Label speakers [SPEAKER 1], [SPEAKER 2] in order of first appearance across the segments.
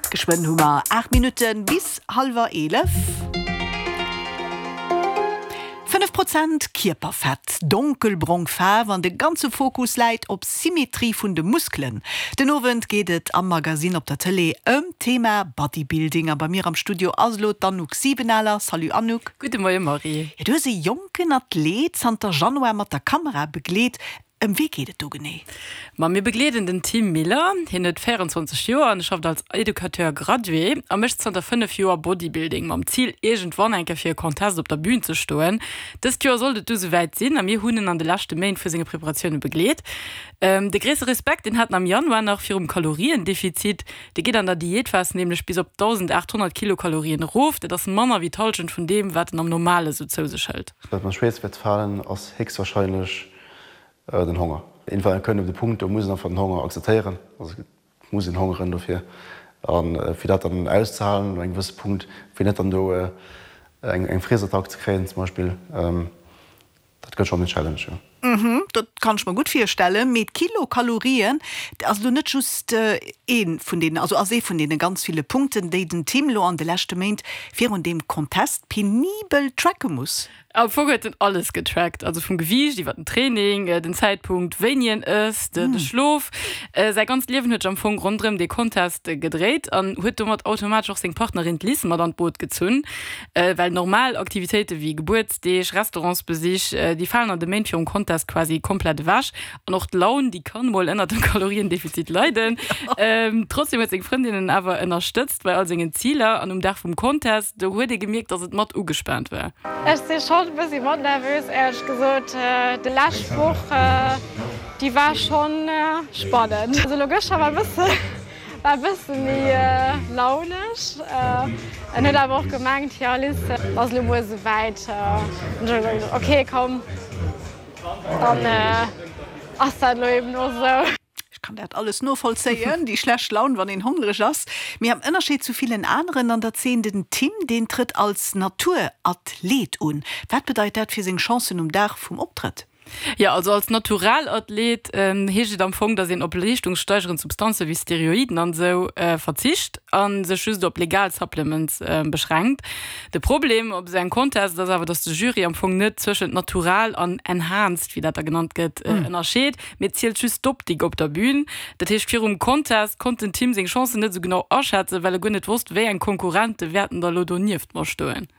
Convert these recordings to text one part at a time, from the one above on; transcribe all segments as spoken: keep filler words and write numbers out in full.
[SPEAKER 1] Geschwënn hu mer aacht Minutte bis hallwer eelef. Fënnef Prozent Kierperfett, donkelbrong Faarf an de ganze Fokus läit op Symmetrie vun de Muskelen. Den Owend geet et am Magasinn op der Tëlee ëm d'Thema Bodybuilding a bei mir am Studio ass elo d'Anouk Siebenaler. Salut Anouk.
[SPEAKER 2] Gudde Moie Marie.
[SPEAKER 1] Jo, du hues e jonken Athlet zanter Januar mat der Kamera begleet. Ëm wie geet et do genee?
[SPEAKER 2] Ma mir begleeden den Tim Miller. Hien huet véierenzwanzeg Joer an schafft als Educateur gradué a mécht zanter fënnef Joer Bodybuilding, mam Zil iergendwann eng Kéier fir e Contest op der Bün ze stoen. Dëst Joer sollt et du souwäit sinn a mir hunn en an de leschte Méint vu senge Preparatioune begleet. De gréisste Respekt, deen hat en am Januar nach virum Kaloriendefizit. Dee geet an der Diätphas nämlech bis op dausendaathonnert Kilokalorien erof. Dat ass manner wéi d'Hallschent vun deem, wat en am Normale sou zou sech hëlt.
[SPEAKER 3] Wat mer schwéierst wäert falen, ass héchstwahrscheinlech den Honger. Irgendwann kënnt op de Punkt, do muss een einfach den Honger akzeptéieren, also et muss een hongeren dofir. A fir dat dann auszehalen no engem gewësse Punkt, fir net dann do eng Friesattack ze kréien zum Beispill, dat gëtt schonn en Challenge, jo.
[SPEAKER 1] Mhm, dat kann ech mer gutt virstellen. Mee d'Kilokalorien ass elo net just ee vun deenen, also ass ee vun deene ganz ville Punkten, déi den Tim elo an de leschte Méint virun deem Contest penibel tracke muss.
[SPEAKER 2] Am Fong huet en alles getrackt, also vum Gewiicht iwwer den Training, den Zäitpunkt wéini en ësst, de Schlof. Säi ganzt Liewen huet sech am Fong ronderëm dee Contest gedréit an huet domat automatesch och seng Partnerin d'Liz mat an d'Boot gezunn. Well normal Aktivitéite wéi Gebuertsdeeg, Restaurantsbesich, déi falen an de Méint virum Contest quasi komplett ewech. An och d'Laun, déi kann mol ënnert dem Kaloriendefizit leiden. Trotzdem huet seng Frëndin en awer ënnerstëtzt bei all sengen Ziler an um Dag vum Contest, do huet ee gemierkt, datt et mat ugespaant war.
[SPEAKER 4] Ech si schonn e bëssi mat nervös, éierlech gesot. Déi lescht Woch, déi war schonn spannend. Also elo gëschter war e bësse war e bësse méi launesch. En huet awer och gemengt, jo Liz, et ass elo muer esouwäit. An ech hu gesot, ok komm, dann ass dat elo eben och esou.
[SPEAKER 1] Ech kann dat alles novollzéien, déi schlecht Laun, wann een hongreg ass. Mee am Ënnerscheed zu villen aneren an der Zeen, den Tim, deen trëtt als Naturathlet un. Wat bedeit dat fir seng Chancen um Dag vum Optrëtt?
[SPEAKER 2] Jo, also als Naturalathlet heescht et am Fong, datt een op leeschtungssteigerend Substanze wéi Steroiden an esou verzicht a sech just op legal Supplements beschränkt. De Problem op esou engem Contest ass awer, datt de Jury am Fong net zwëschent natural an enhanced, wéi dat da genannt gëtt, ënnerscheet. Mee et zielt just d'Optik op der Bühn. Dat heescht, virum Contest konnt den Tim seng Chancen net esou genau aschätzen, well e guer net wosst, wéi eng Konkurrente wäerten da lo donieft mer stoen.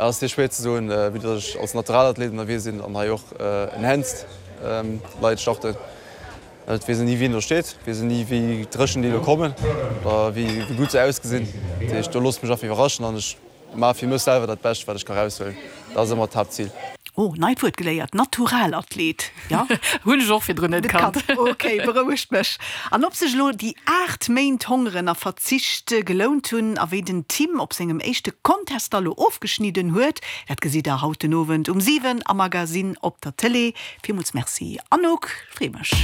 [SPEAKER 3] Et ass dir schwéier ze soen, vue dass ech als Naturalathlet ënnerwee sinn an hei och enhanced Leit starten. Et weess een ni wien do steet, weess een ni wéi dréchen déi elo kommen oder wéi gutt se ausgesinn. Dat heescht, do loosse ech mech einfach iwwerraschen an ech Maache fir mech selwer dat Bescht wat ech ka raushuelen, dat ass ëmmer d'Haaptzil.
[SPEAKER 1] Oh, neit Wuert geléiert, Naturalathlet, jo?
[SPEAKER 2] Hunn ech och virdrun net kannt.
[SPEAKER 1] Ok, berouegt mech. An ob sech elo déi aacht Méint Hongeren a Verzicht gelount hunn a wéi den Tim op sengem éischte Contest da lo ofgeschnidden huet, dat gesitt der haut den Owend um siwen am Magasinn op der Tëlee. Villmools Merci Anouk, free mech.